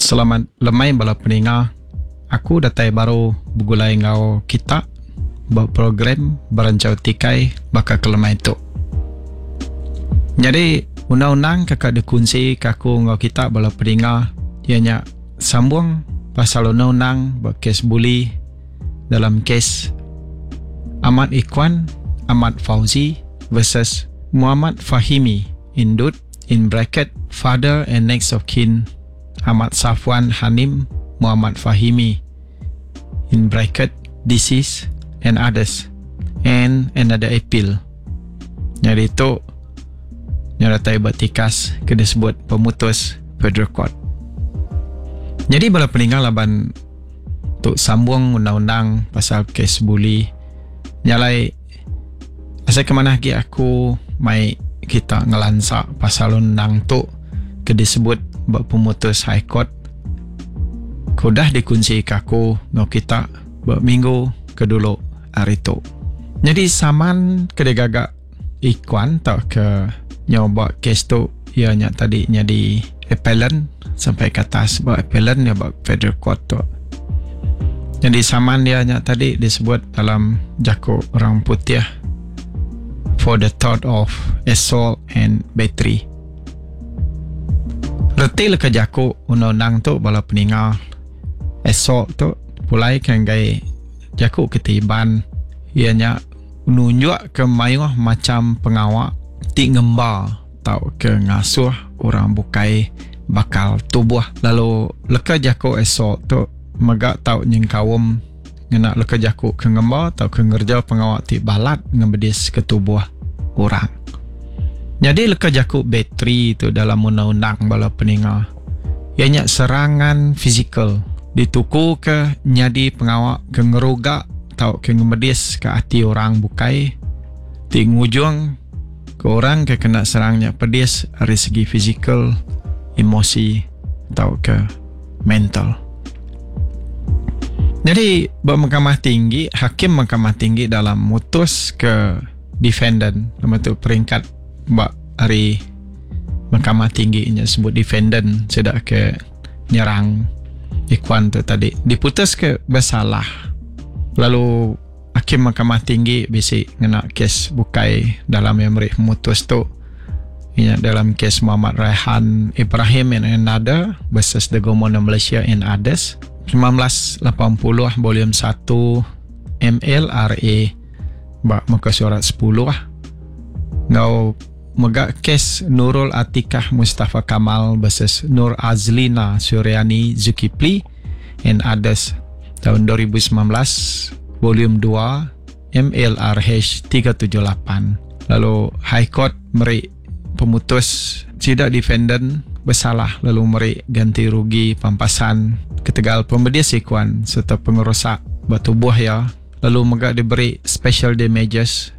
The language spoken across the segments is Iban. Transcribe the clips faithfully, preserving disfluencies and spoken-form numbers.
Selamat lemai bala peninga. Aku datai baru begulai enggau kita ba program Beranchau Tikai baka ke lemai tu. Nyadi undang-undang ke ka dikunsi ke aku enggau kita bala peninga iya nya sambung pasal undang-undang ba kes buli dalam kes Ahmad Ikhwan Ahmad Fauzi versus Muhammad Fahimi Indut in bracket father and next of kin Ahmad Safwan Hanim Muhammad Fahimi in bracket deceased and others and another appeal. Nyadi tu nyeratai ba tikas ke disebut pemutus Federal Court. Nyadi bala peninga laban tu sambung undang-undang pasal kes buli nyalai asai ke manah agi aku mai kita ngelansa pasal undang tu ke disebut ba pemutus High Court ke udah dikunsi ke aku enggau kita ba minggu ke dulu hari tu. Nyadi saman ke digaga Ikhwan tauka nyau ba kes tu iya nya tadi nyadi appellant sampai ke atas ba appellant nya ba Federal Court tu. Nyadi saman dia nya tadi disebut dalam jaku orang putih for the tort of assault and battery. Reti leka jaku undang-undang tu bala peninga assault tu pulai ke enggai jaku kitai Iban iya nya nunjuk ke mayuh macam pengawa ti ngemba tauka ngasuh orang bukai bakal tubuh. Lalu leka jaku assault tu mega tau nyengkaum ngena leka jaku ke ngemba tauka ngereja pengawa ti balat ngemedis ke tubuh orang. Nyadi leka jaku battery tu dalam undang-undang bala peninga iya nya serangan fizikal dituku ke nyadi pengawa ke ngeruga tauka ngemedis ke ati orang bukai ti ngujung ke orang ke kena serang nya pedis ari segi fizikal, emosi tauka mental. Jadi ba Mahkamah Tinggi, hakim Mahkamah Tinggi dalam mutus ke defendant, nama tu peringkat ba hari Mahkamah Tinggi nya sebut defendant sida ke nyerang Ikhwan tu tadi diputus ke bersalah. Lalu hakim Mahkamah Tinggi bisi ngena kes bukai dalam yang meri pemutus tu. Ianya dalam kes Muhammad Raihan Ibrahim and another versus the Government of Malaysia and others sembilan belas lapan puluh volume satu M L R A ba muka surat sepuluh. Ngau mega kes Nurul Atikah Mustafa Kamal versus Nur Azlina Suryani Zulkifli and others tahun dua ribu sembilan belas volume dua M L R H tiga tujuh lapan. Lalu High Court meri pemutus sida defendant bersalah lalu meri ganti rugi pampasan ketegal pembedis Ikhwan serta pengerosak bertubuh ya. Lalu mega diberi special damages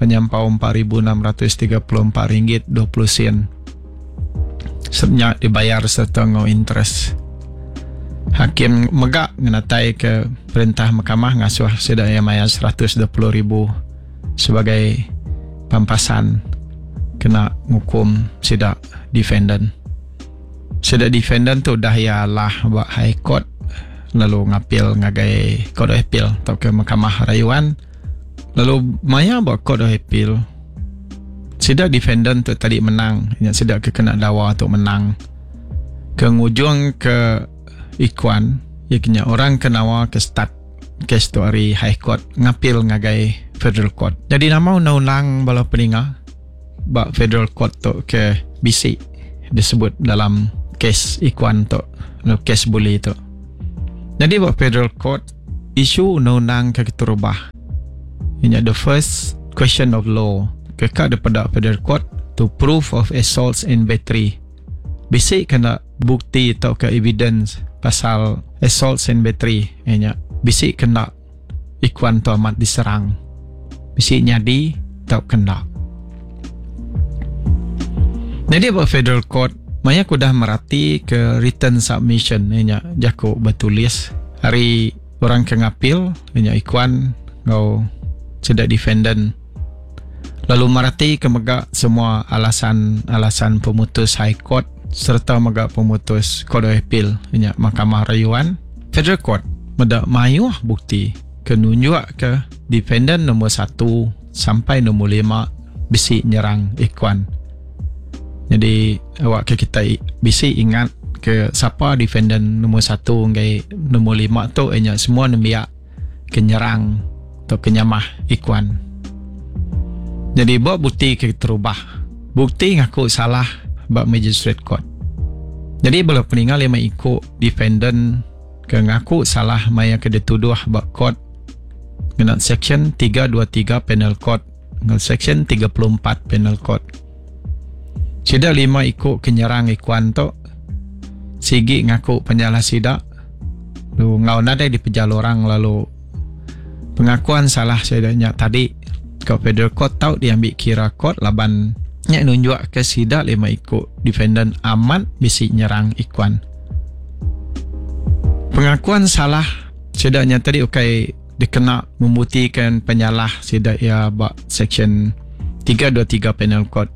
penyampau empat ribu enam ratus tiga puluh empat ringgit dua puluh sen. Sebenarnya dibayar serta ngau interest. Hakim mega ngenatai ke perintah mahkamah ngasuh sida yang mayar seratus dua puluh ribu sebagai pampasan kena ngukum sida defendant. Sida defendant tu dah ia lah ba High Court lalu ngapil ngagai Court of Appeal atau ke Mahkamah Rayuan. Lalu maya ba Court of Appeal sida defendant tu tadi menang, nya sida ke kena dawa tu menang. Ke ngujung ke Ikhwan, ya kena orang kenawa ke start kes tu ari High Court ngapil ngagai Federal Court. Jadi nama undang-undang bala peninga ba Federal Court tu ke bisi disebut dalam kes Ikhwan tu, kes buli tu. Jadi ba Federal Court isu undang-undang ke keterubah ianya the first question of law ke ka daripada Federal Court to proof of assaults and battery. Bisi kena bukti atau ke evidence pasal assaults and battery ianya bisi kena Ikhwan tu amat diserang. Bisi nyadi atau kena. Jadi ba Federal Court maya aku dah merati ke written submission ianya jaku bertulis hari orang ke ngapil ianya Ikhwan ngau sida defendant. Lalu merati ke mega semua alasan-alasan pemutus High Court serta mega pemutus Court of Appeal nya Mahkamah Rayuan. Federal Court meda mayuh bukti ke nunjuk ke defendant nombor satu sampai nombor lima bisi nyerang Ikhwan. Jadi awak ke kita bisi ingat ke siapa defendant nombor satu ngai nombor lima tu nya semua nembiak ke nyerang atau ke nyamah Ikhwan. Jadi buat bukti ke terubah. Bukti ngaku salah bak magistrate court. Jadi bala peninggal lima ikut defendant ke ngaku salah maya ke dituduh bak court dengan section tiga dua tiga Penal Code dengan section tiga puluh empat Penal Code. Sida lima ikut kenyerang Ikhwan tu sigi ngaku penyalah sida lu ngau nadai di pejal orang lalu pengakuan salah sidanya tadi ke Federal Court tau diambil kira court laban nya nunjuk ke sida lima ikut defendant amat bisi nyerang Ikhwan. Pengakuan salah sidanya tadi ukai dikena membuktikan penyalah sida ia bak section tiga dua tiga Penal Code.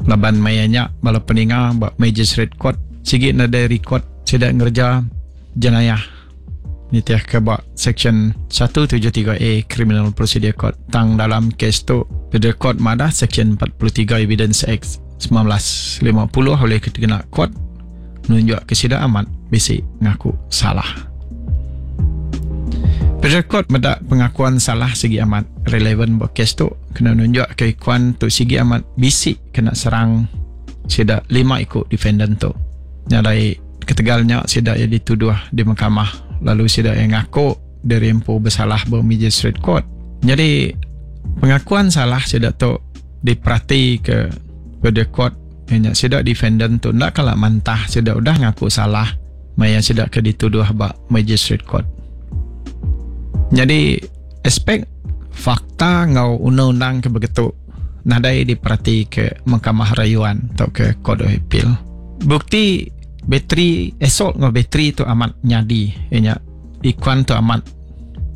Laban mayanya bala peninga bak magistrate court sigi nadai record sida ngerja jenayah nitiah ke bak section satu tujuh tiga A Criminal Procedure Code. Tang dalam kes tu Federal Court madah section empat puluh tiga Evidence Act sembilan belas lima puluh oleh kena court nunjuk ke sida amat bisi ngaku salah. Federal Court medak pengakuan salah segi amat relevan buat kes tu kena nunjuk ke Ikhwan tu segi amat bisi kena serang sida lima ikut defendant tu. Nyadai ketegalnya sida yang dituduh di mahkamah lalu sida yang ngaku dari empu bersalah ber magistrate court. Jadi pengakuan salah sida tu diperhati ke pada court hanya sida defendant tu nak kalau mantah sida udah ngaku salah maya sida ke dituduh bak magistrate court. Jadi aspek fakta ngau undang-undang ke begitu nadai diperhati ke mahkamah rayuan atau ke court of appeal. Bukti bateri esok ngau bateri tu amat nyadi ianya Ikhwan tu amat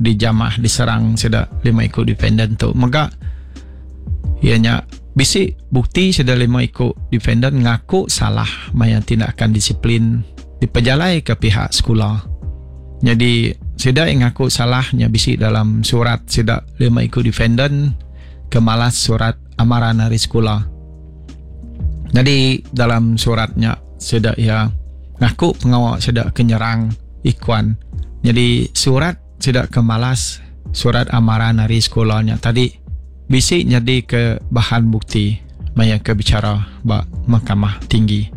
dijamah diserang sida lima ikut defendant tu mega ianya bisi bukti sida lima ikut defendant ngaku salah maya tindakan disiplin dipejalai ke pihak sekolah. Jadi sida yang ngaku salahnya bisi dalam surat sida lima ikut defendant kemalas surat amaran hari sekolah. Jadi dalam suratnya sida ya ngaku pengawal sida kenyerang Ikhwan. Jadi surat sida kemalas surat amaran hari sekolahnya tadi bisi jadi ke bahan bukti maya ke bicara bak mahkamah tinggi.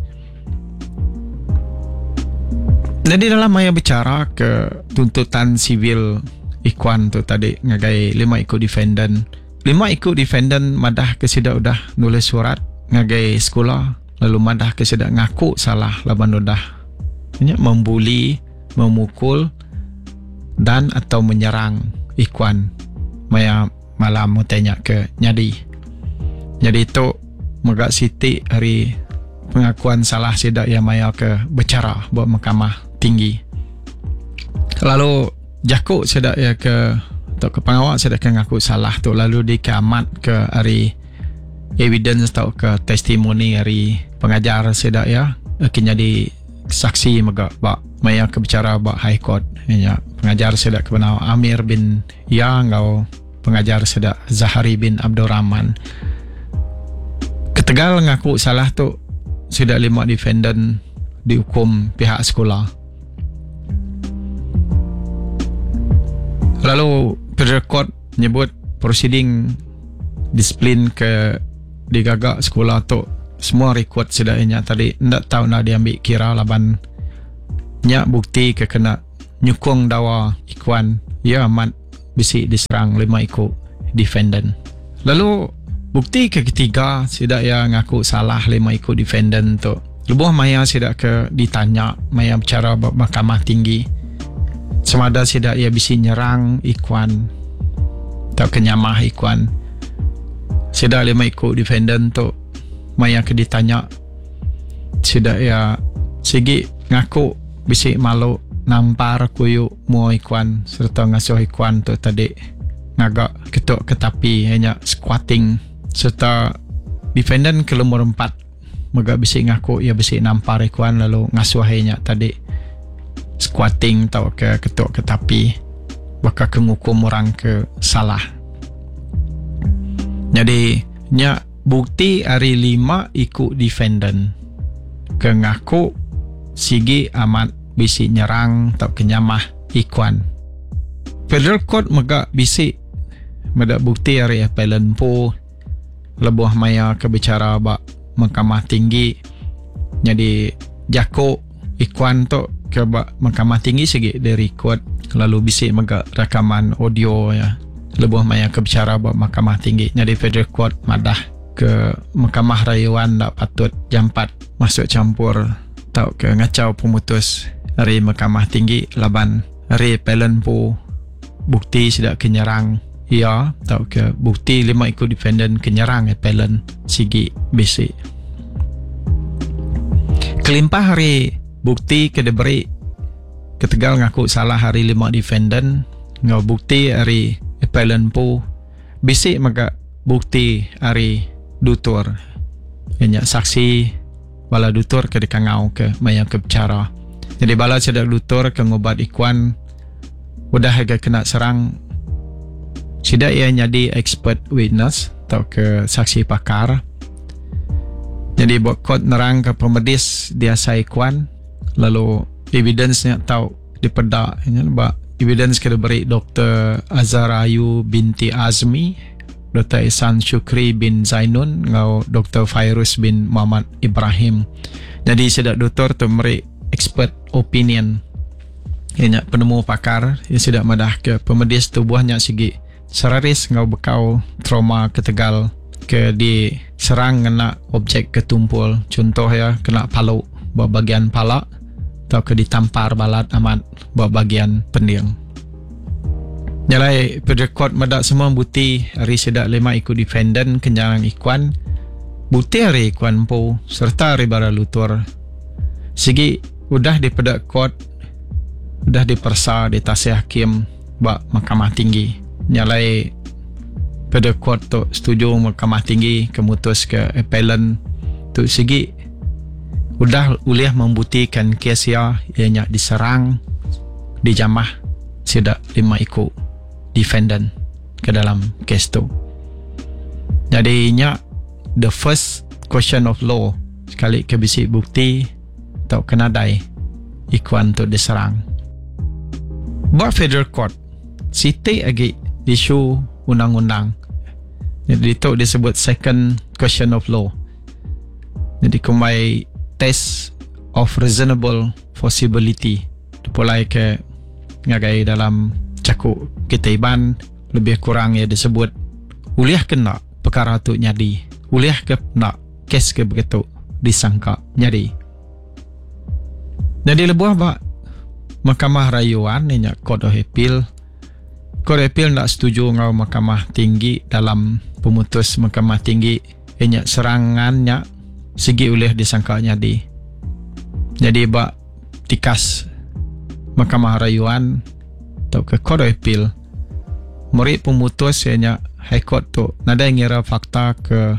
Jadi dalam maya bicara ke tuntutan sivil Ikhwan tu tadi ngagai lima ikut defendant. Lima ikut defendant madah ke sida udah nulis surat ngagai sekolah lalu madah ke sida ngaku salah laban udah nya membuli, memukul dan atau menyerang Ikhwan maya malam tanya ke nyadi. Jadi tu megak siti hari pengakuan salah sida yang maya ke bicara buat mahkamah tinggi. Lalu jakuk sida ya ke atau ke pengawal sida ke ngaku salah tu lalu dikamat ke hari evidence atau ke testimoni hari pengajar sida ya ke jadi saksi megak bak maya ke bicara bak high court ya pengajar sida ke benau Amir bin Ya ngau pengajar sida Zahari bin Abdul Rahman. Ketegal ngaku salah tu sida lima defendant dihukum pihak sekolah. Lalu Federal Court menyebut proceeding disiplin ke digagak sekolah tu semua rekod sedanya tadi ndak tahu nak diambil kira laban nya bukti ke kena nyukung dawa Ikhwan ya amat bisi diserang lima ikut defendant. Lalu bukti ke ketiga sidak ya ngaku salah lima ikut defendant tu. Lebuh maya sidak ke ditanya maya bicara mahkamah tinggi semada sidak ya bisi nyerang Ikhwan atau kenyamah Ikhwan. Sidak lima ikut defendant tu maya ke ditanya sidak ya sigi ngaku bisi malu nampar kuyuk mua Ikhwan serta ngasuh Ikhwan tu tadi ngagak ketuk ketapi hanya squatting serta defendant ke nomor empat mega bisi ngaku ia bisi nampar Ikuan lalu ngasuh nya tadi squatting atau ke ketuk ke tapi bakal ke ngukum orang ke salah. Jadi nya bukti hari lima ikut defendant ke ngaku sigi amat bisi nyerang atau kenyamah Ikuan. Federal Court mega bisi meda bukti hari appellant po lebuh maya ke bicara ba Mahkamah Tinggi. Jadi jako Ikuan tu ke ba Mahkamah Tinggi sigi di record lalu bisi mega rakaman audio ya lebuh maya ke bicara ba Mahkamah Tinggi. Jadi Federal Court madah ke Mahkamah Rayuan tak patut jampat masuk campur tau ke ngacau pemutus dari Mahkamah Tinggi laban dari appellant po bukti sudah kenyerang ia tau ke bukti lima ikut defendant kenyerang appellant sigi bisi. Kelimpah hari bukti ke diberi ketegal ngaku salah hari lima defendant ngau bukti hari appellant po bisi mega bukti hari dutur nya saksi bala dutur ke dikangau ke maya ke bicara. Jadi bala cedak dutur ke ngubat Ikuan udah agak kena serang sida ia jadi expert witness atau ke saksi pakar. Jadi buat kot nerang ke pemedis dia Ikuan lalu evidence-nya tau dipedak nya ba evidence ke diberi Doktor Azhar Ayu binti Azmi, Doktor Ihsan Syukri bin Zainun ngau Doktor Fairuz bin Muhammad Ibrahim. Jadi sidak doktor tu meri expert opinion. Ianya penemu pakar yang sidak madah ke pemedis tubuhnya sigi seraris ngau bekau trauma ketegal ke diserang kena objek ketumpul, contoh ya kena palu buat bagian pala atau ke ditampar balat amat buat bagian pending. Nyalai pada court medak semua bukti hari sedak lima ikut defendant kenyarang Ikuan, bukti hari Ikuan po serta hari bara lutur sigi udah dipedak court, udah dipersa di tasih hakim bak Mahkamah Tinggi. Nyalai pada court tu setuju Mahkamah Tinggi kemutus ke appellant tu sigi udah ulih membuktikan kes ia ianya diserang dijamah sidak lima iku defendant ke dalam kes tu. Jadi nya the first question of law sekali ke bisi bukti atau kenadai Ikuan tu diserang. Buat federal court siti lagi isu undang-undang. Jadi itu disebut second question of law. Jadi kumai test of reasonable possibility. Dipulai ke ngagai dalam cakuk kita iban lebih kurang ya disebut uliah kena perkara tu nyadi, uliah ke nak kes ke begitu disangka nyadi. Jadi lebuh ba Mahkamah Rayuan ni nya Court of Appeal. Court of Appeal nak setuju ngau Mahkamah Tinggi dalam pemutus Mahkamah Tinggi nya serangannya segi ulih disangka nyadi. Jadi ba tikas Mahkamah Rayuan atau ke Court of Appeal murid pemutus nya High Court tu nadai ngira fakta ke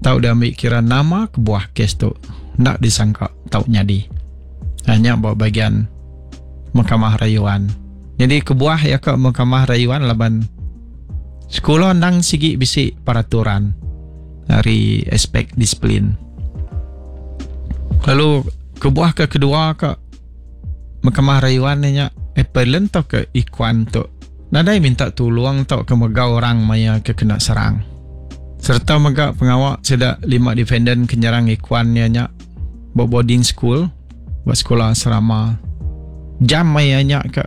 tau dia ambil kira nama kebuah kes tu nak disangka tau nyadi. Hanya buat bagian Mahkamah Rayuan. Jadi kebuah ya ke Mahkamah Rayuan laban sekolah nang sigi bisi peraturan dari aspek disiplin. Lalu kebuah ke kedua ke Mahkamah Rayuan ni nya appellant atau ke Ikuan tu nadai minta tolong atau ke megau orang maya ke kena serang. Serta mega pengawak sedak lima defendant kenyerang Ikuan ni nya buat boarding school, buat sekolah asrama. Jam maya nya ke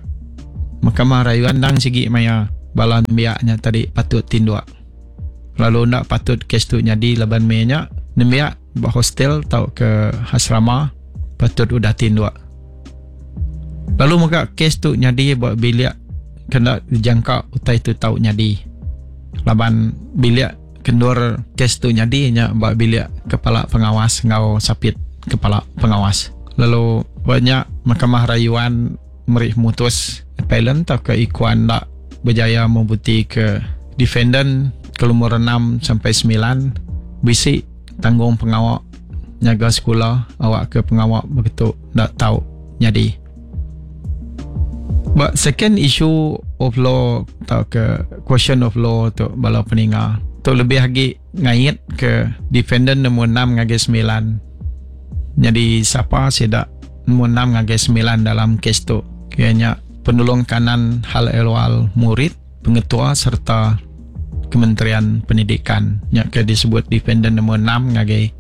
Mahkamah Rayuan dang sigi maya bala nembiaknya tadi patut tinduk. Lalu nak patut kes tu nyadi laban maya nya nembiak buat hostel atau ke asrama patut udah tinduk. Lalu mega kes tu nyadi buat bilik kena dijangka utai tu tau nyadi. Laban bilik kendur kes tu nyadi nya buat bilik kepala pengawas ngau sapit kepala pengawas. Lalu banyak Mahkamah Rayuan meri mutus appellant atau ke Ikuan tak berjaya membukti ke defendant ke lumur enam sampai sembilan bisi tanggung pengawak nyaga sekula awak ke pengawa begitu ndak tau nyadi. But second issue of law atau ke question of law tu bala peninga tu lebih lagi ngait ke defendant nombor enam ngagai sembilan. Jadi siapa sidak nombor enam ngagai sembilan dalam kes tu? Kayaknya penolong kanan hal ehwal murid, pengetua serta Kementerian Pendidikan. Nya ke disebut defendant nombor enam ngagai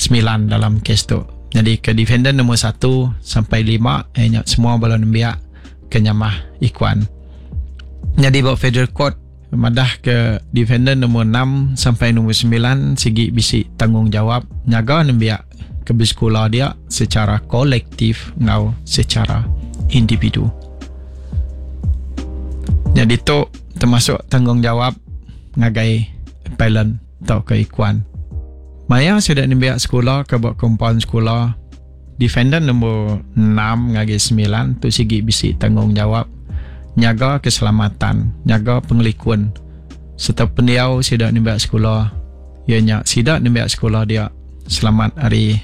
sembilan dalam kes tu. Jadi ke defendant nombor satu sampai lima eh, nya semua bala nembiak kenyamah ikuan. Jadi buat federal court madah ke defendant nombor enam sampai nombor sembilan sigi bisi tanggungjawab nyaga nembiak ke bersekolah dia secara kolektif ngau secara individu. Jadi tu termasuk tanggungjawab ngagai appellant atau ke ikuan. Maya sudah nembiak sekolah ke buat compound sekolah, defendant nombor enam ngagai sembilan tu sigi bisi tanggungjawab nyaga keselamatan, nyaga pengelikun serta pendiau sidak nembiak sekolah. Ianya sidak nembiak sekolah dia selamat hari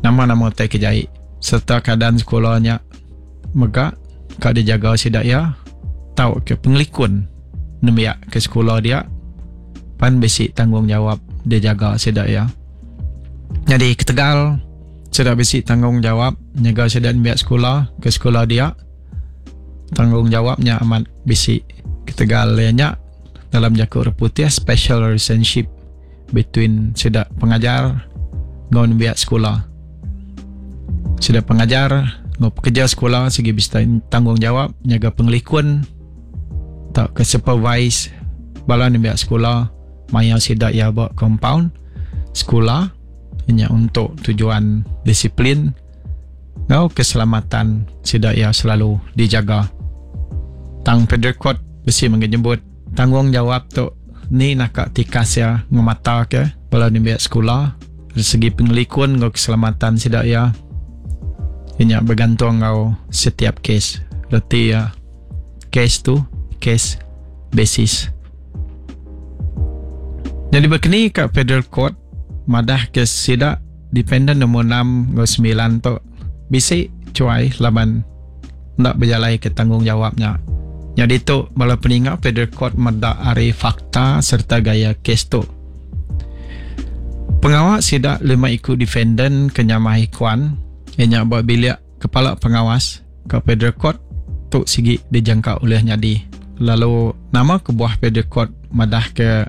nama-nama tai kejai serta keadaan sekolahnya megak kak dijaga sidak ya tau ke pengelikun nembiak ke sekolah dia pan bisi tanggungjawab dia jaga sidak ya. Jadi ketegal sidak bisi tanggungjawab nyaga sidak nembiak sekolah ke sekolah dia, tanggungjawabnya amat bisi ketegal nya dalam jakuk reputih special relationship between sidak pengajar ngau nembiak sekolah. Sidak pengajar ngau pekerja sekolah segi bisi tanggungjawab nyaga pengelikun tak ke supervise bala nembiak sekolah maya sidak ya buat compound sekolah hanya untuk tujuan disiplin ngau keselamatan sidak ya selalu dijaga. Tang Federal Court besi menyebut tanggungjawab tu ni nak tikas ya ngemata ke bala nembiak sekolah dari segi pengelikun ngau keselamatan sidak ya hanya bergantung ngau setiap kes. Berarti ya case tu case basis. Jadi berkini ke Federal Court madah ke sidak dependent nombor enam ngau sembilan tu bisi cuai laban nak berjalai ke tanggungjawabnya. Jadi tu bala peningat Federal Court medak ari fakta serta gaya kes tu. Pengawal sidak lima ikut defendant kenyamah ikuan ianya buat bilik kepala pengawas ke Federal Court tu sigi dijangka oleh nyadi. Lalu nama kebuah Federal Court madah ke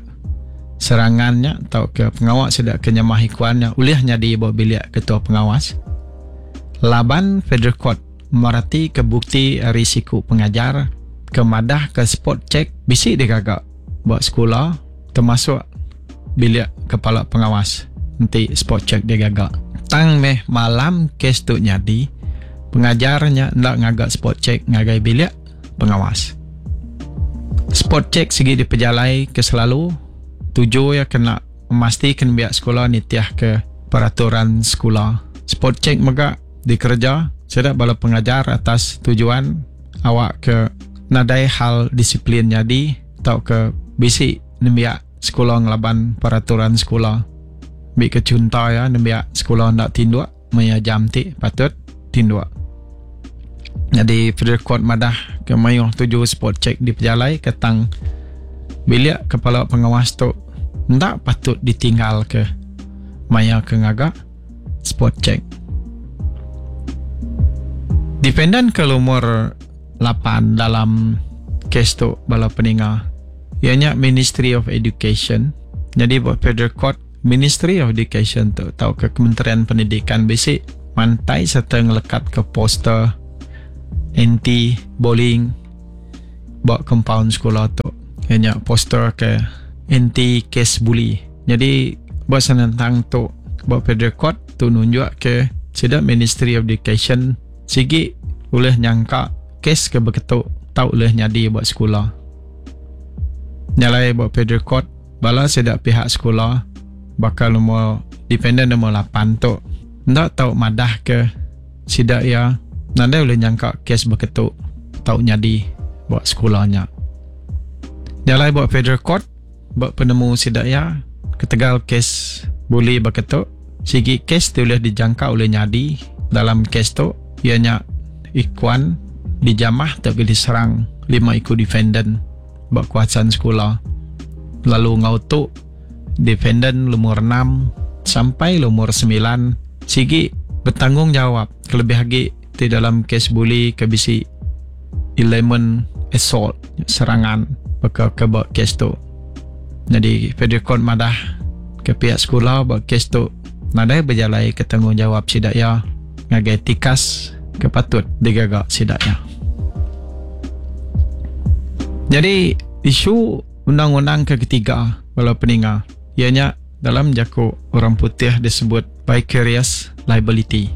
serangannya atau ke pengawal sidak kenyamah ikuannya oleh nyadi buat bilik ketua pengawas. Laban Federal Court merati ke bukti risiko pengajar ke madah ke spot check bisi digagak buat sekolah termasuk bilik kepala pengawas nanti spot check dia gagak. Tang meh malam kes tu nyadi pengajarnya ndak ngagak spot check ngagai bilik pengawas. Spot check segi dipejalai ke selalu tuju ya kena memastikan biak sekolah nitiah ke peraturan sekolah. Spot check megak dikerja sedap bala pengajar atas tujuan awak ke nadai hal disiplin jadi atau ke bisi nembiak sekolah ngelaban peraturan sekolah. Bi ke cunta ya nembiak sekolah nak tinduk maya jam ti patut tinduk. Jadi Federal Court madah ke mayuh tuju spot check di pejalai ketang bilik kepala pengawas tu ndak patut ditinggal ke maya ke ngagak spot check. Defendant ke nomor lapan dalam kes tu bala peninga ianya Ministry of Education. Jadi buat Federal Court Ministry of Education tu atau ke Kementerian Pendidikan bisi mantai serta ngelekat ke poster anti bullying buat compound sekolah tu. Ianya poster ke anti case bully. Jadi buat senentang tu buat Federal Court tu nunjuk ke sidak Ministry of Education sigi boleh nyangka kes ke beketuk tau boleh nyadi buat sekolah. Nyalai buat Federal Court bala sidak pihak sekolah bakal nombor defendant nombor lapan tu ndak tau madah ke sidak ya nanda boleh nyangka kes beketuk tau nyadi buat sekolahnya. Nyalai buat Federal Court buat penemu sidak ya ketegal kes bully beketuk Sigi kes ti ulih dijangka ulih nyadi dalam kes tu iya nya Ikhwan dijamah tauka diserang lima iku defendant ba kawasan sekula. Lalu enggau tu defendant lumur enam sampai lumur semilan sigi betanggungjawab kelebih agi ti dalam kes buli ke bisi elemen assault, serangan baka ke ba kes tu. Jadi Federal Court madah ke pihak sekula ba kes tu nadai bejalai ke tanggungjawab sida ya ngagai tikas ke patut digaga sida ya. Jadi isu undang-undang ke ketiga bala peninga ianya dalam jaku orang putih disebut vicarious liability.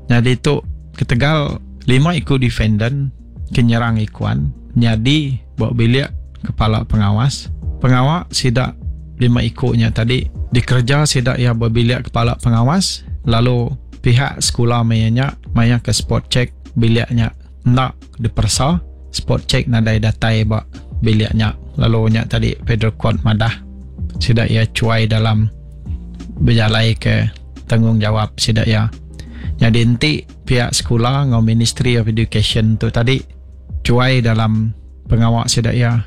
Jadi tu ketegal lima iku defendant ke nyerang Ikhwan nyadi ba bilik kepala pengawas. Pengawa sida lima iku nya tadi dikerja sida ia ba bilik kepala pengawas, lalu pihak sekolah maya nya maya ke spot check biliknya enda diperesa, spot check nadai datai ba biliknya. Lalu nya tadi Federal Court madah sida ia cuai dalam berjalai ke tanggungjawab sida ia. Jadi enti pihak sekolah ngau Ministry of Education tu tadi cuai dalam pengawak sida ia,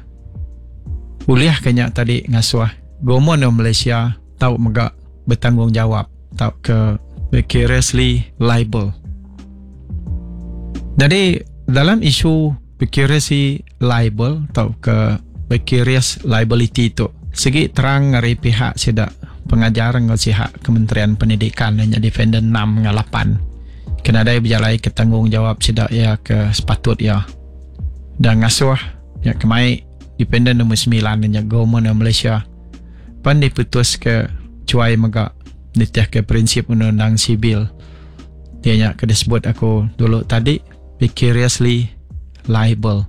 ulih kenya tadi ngasuh Government of Malaysia tau mega bertanggungjawab tau ke vicariously liable. Jadi dalam isu vicariously liable tau ke vicarious liability tu segi terang dari pihak sida pengajar ngau pihak Kementerian Pendidikan dan defendant enam dengan lapan kena dai berjalai ke tanggungjawab sida ia ke sepatut ia dan ngasuh ya kemai defendant nombor sembilan dan Government of Malaysia pan diputus ke cuai mega nitih ke prinsip undang-undang sibil. Dia nya ke disebut aku dulu tadi vicariously liable.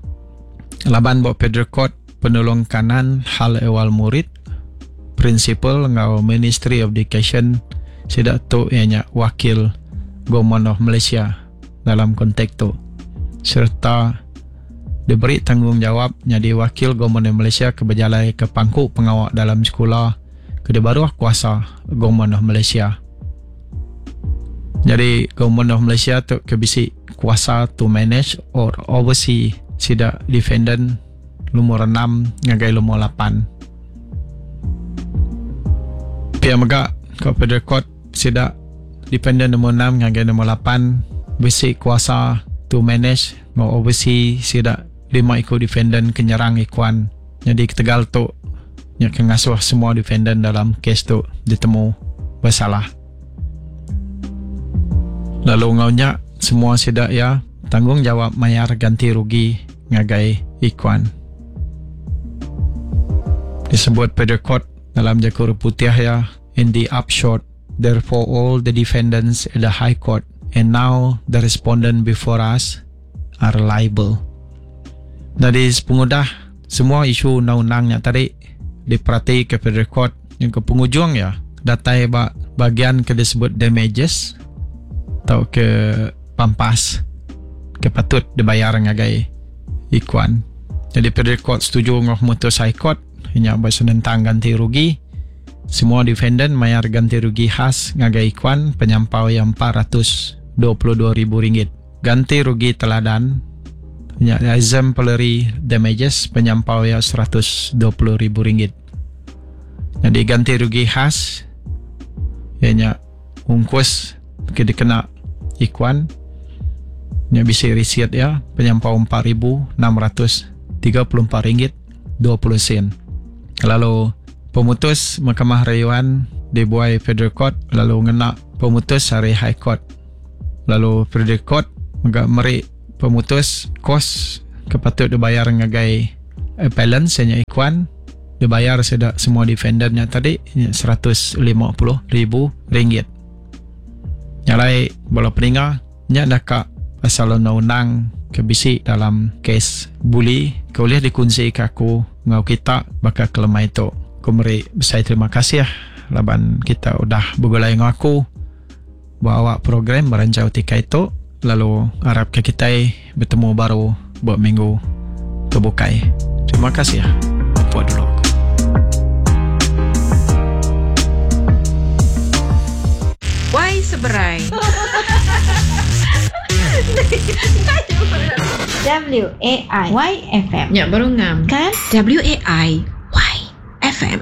Laban buat Federal Court penolong kanan hal ehwal murid principal ngau Ministry of Education sida tu ianya wakil Government of Malaysia dalam konteks tu serta diberi tanggungjawab jadi wakil Government of Malaysia ke berjalai ke pangku pengawak dalam sekolah ke di bawah kuasa Government of Malaysia. Jadi Government of Malaysia tu ke bisi kuasa to manage or oversee sida defendant lumur enam ngagai lumur lapan. Pia mega ke Federal Court sida defendant nombor enam ngagai nombor lapan bisi kuasa to manage or oversee sida lima iku defendant kenyerang Ikhwan. Jadi ketegal tu nya ke ngasuh semua defendant dalam kes tu ditemu bersalah. Lalu ngaunya semua sida ya tanggungjawab mayar ganti rugi ngagai Ikhwan. Disebut Federal Court dalam jaku putih ya, in the upshot therefore all the defendants at the High Court and now the respondent before us are liable. Jadi sepengudah semua isu undang-undangnya tadi diperhati ke Federal Court yang ke penghujung ya datai ba bagian ke disebut damages atau ke pampas ke patut dibayar ngagai Ikhwan. Jadi Federal Court setuju dengan mutus High Court hanya bersenentang ganti rugi. Semua defendant mayar ganti rugi khas ngagai Ikhwan penyampau yang empat ratus dua puluh dua ribu ringgit. Ganti rugi teladan nya exemplary damages penyampau yang seratus dua puluh ribu ringgit. Jadi ganti rugi khas ianya ungkus ke dikena Ikhwan nya bisi receipt ya penyampau empat ribu enam ratus tiga puluh empat ringgit dua puluh sen. Lalu pemutus Mahkamah Rayuan dibuai Federal Court lalu ngena pemutus hari High Court. Lalu Federal Court mega meri pemutus kos ke patut dibayar ngagai appellant senya Ikhwan dibayar sedak semua defendantnya tadi seratus lima puluh ribu ringgit. Nyalai bola peninga nya nak pasal undang-undang ke bisi dalam kes buli ke boleh dikunci ke aku ngau kita bakal kelemai tu. Aku meri besai terima kasih laban kita udah bergulai ngau aku bawa program merancau tikai tu. Lalu harap ke kita bertemu baru buat minggu terbukai. Terima kasih. Buat dulu. Seberai. W A I Y F M. Ya, baru ngam. Kan? W A I Y F M.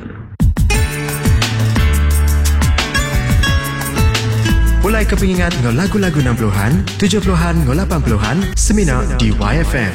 Mulai ke pengingat ngau lagu-lagu enam puluhan, tujuh puluhan, ngau lapan puluhan, semina di Y F M.